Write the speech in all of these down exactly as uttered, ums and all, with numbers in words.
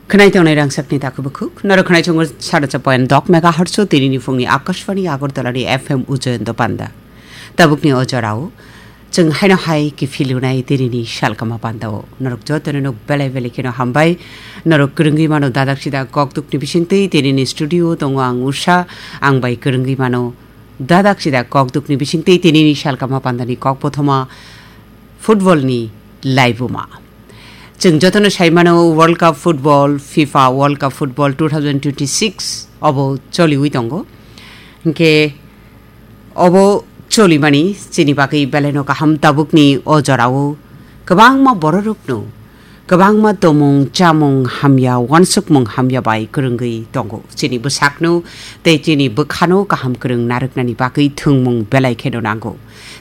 Khwnai tongnai rangchakni takhuk bukhuk, norok khwnai chungo saracha point dok megahertz o tinini phungni Akashvani Agartala ni F M Ujayanta Panda. Tabukni o jorao chwng haino hai kiphilunai tinini salkama pandao. Norok jotono nok belai belai kheno hambai. Norok kwrwngwi mano dadak sida kokdukni bisingtwi tinini studio tongo ang Usha, ang bai kwrwngwi mano dadak sida kokdukni bisingtwi tinini salkama pandani kok bothoma football ni laibuma. Chwng jotono sai mano World Cup football, FIFA World Cup football two thousand twenty-six obo choliwi tongo. Hinkhe obo cholimani chini bagwi belaino kaham tabukni o jorao kwbangma bororokno kwbangma tomung chamung hamya, wansukmung hamya bai kwrwngwi tongo. Chini bwsakno tei chini bwkhano kaham kwrwng narwknani bagwi thwngmung belai kheno nango.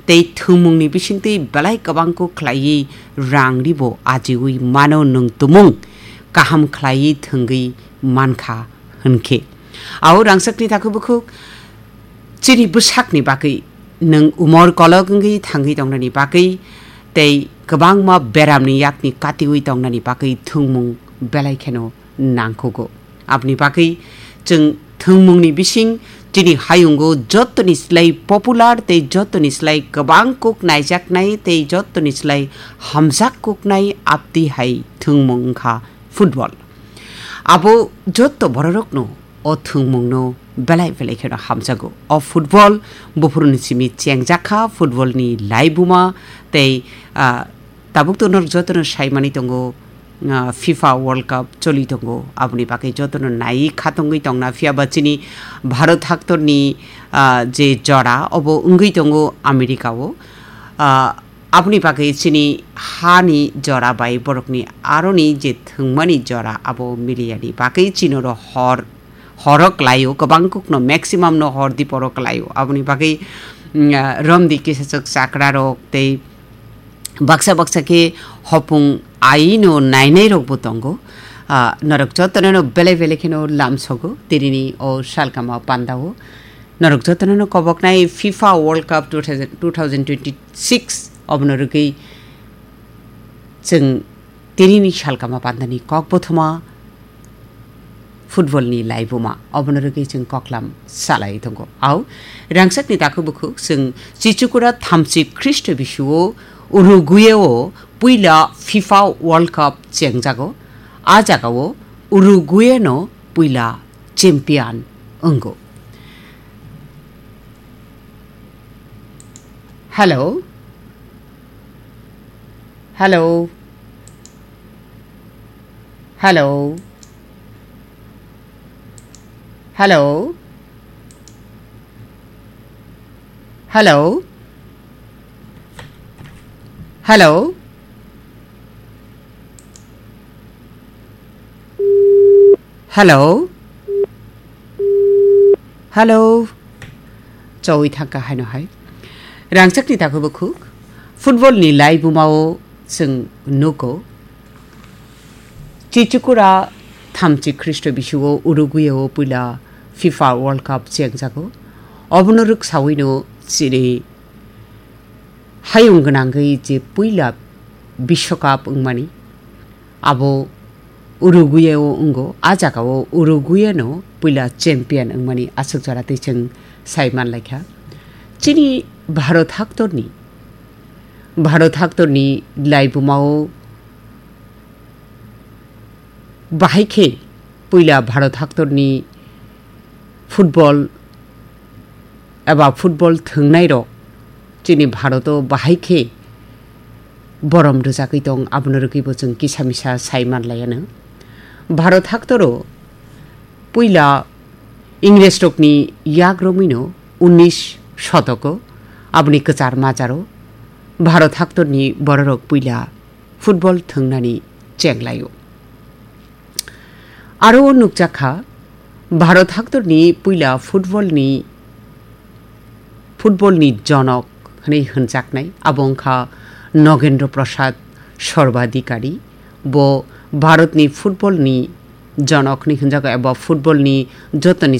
Tei thwngmungni bisingtwi belai kwbangkuk khlaiwi rang ribo ajiwi mano nwng tumung kaham khlaiwi thwngwi mankha hwnkhe. Ao rangchakni takhuk bukhuk chini bwsakni bagwi nwng umor kolok wngwi thangwi tongnani bagwi tei kwbangma beramni yakni katiwi tongnani bagwi thwngmung belai kheno nangkukgo. Aboni bagwi chwng thwngmungni bising chini hayungo jottoni slai popular tei jottoni slai kwbang kuk naijaknai tei jottoni slai hamjak kuknai abdi hai thwngmung wngkha football. Abo jotto bororokno o thwngmungno belai belai kheno hamjago. O football buphuruni simi chengjakha, footballni laibuma tei, ah, tabuk to norok jotono saimani tongo, ah, FIFA World Cup choli tongo. Aboni bagwi jotono naiwi khatongwi tongna, phiya ba chini Bharat haktorni, ah, je jora obo wngwi tongo America o. Ah, aboni bagwi chini hani jora bai borokni aroni je thwngmani jora abo miliyani bagwi chinoro hor horo klaio, kwbang kukno maximum no hor diporo klaio. Aboni bagwi, mm, ah, romdi kisachwk chakrarok tei baksa baksa khe hopung aino nainairokbo tongo. Ah, norok jotono belai belai kheno lamsogo tinini o salkama pandao. Norok jotono koboknai FIFA World Cup two thousand, two thousand twenty-six obono rwgwi chwng tinini salkama pandani kok bothoma football ni laibuma obono rwgwi chwng koklam salai tongo. Au rangchakni takhuk bukhuk chwng Chichukura thamchi Khristo bisuo Uruguay o puila FIFA World Cup chengjago. A jagao Uruguay no puila champion wngo. Hello. Hello. Hello. Hello. Hello. Hello. Hello. Hello. Chawi thangkha haino hai. Rangchakni takhuk bukhuk. Football ni laibumao chwng nugo. Chichukura thamchi Khristo bisuo Uruguay o puila FIFA World Cup chengjago. Obono rwksawino chini hayung gwnangwi je puila Biswakap wngmani, abo Uruguay o wngo. A jagao Uruguay no puila champion wngmani aswk jora tei chwng sai manlaikha. Chini Bharat haktorni, Bharat haktorni laibumao bahai khe puila Bharat haktorni football eba football thwngnairok chini Bharoto bahai khe borom rwjagwi tong, abono rwgwibo chwng kisa misa sai manlaianw. Bharot haktoro puila Ingresrokni yak romwino unnish shotoko, aboni kwchar majaro Bharot haktorni bororok puila football thwngnani chenglaio. Aro o nukjakha, Bharot haktorni puila footballni, footballni jonok hwnwi hwnjaknai, abo wngkha Nogendra Prasad Sarvadhikari. Bo Bharatni footballni jonok hwnwi hwnjago eba footballni jotoni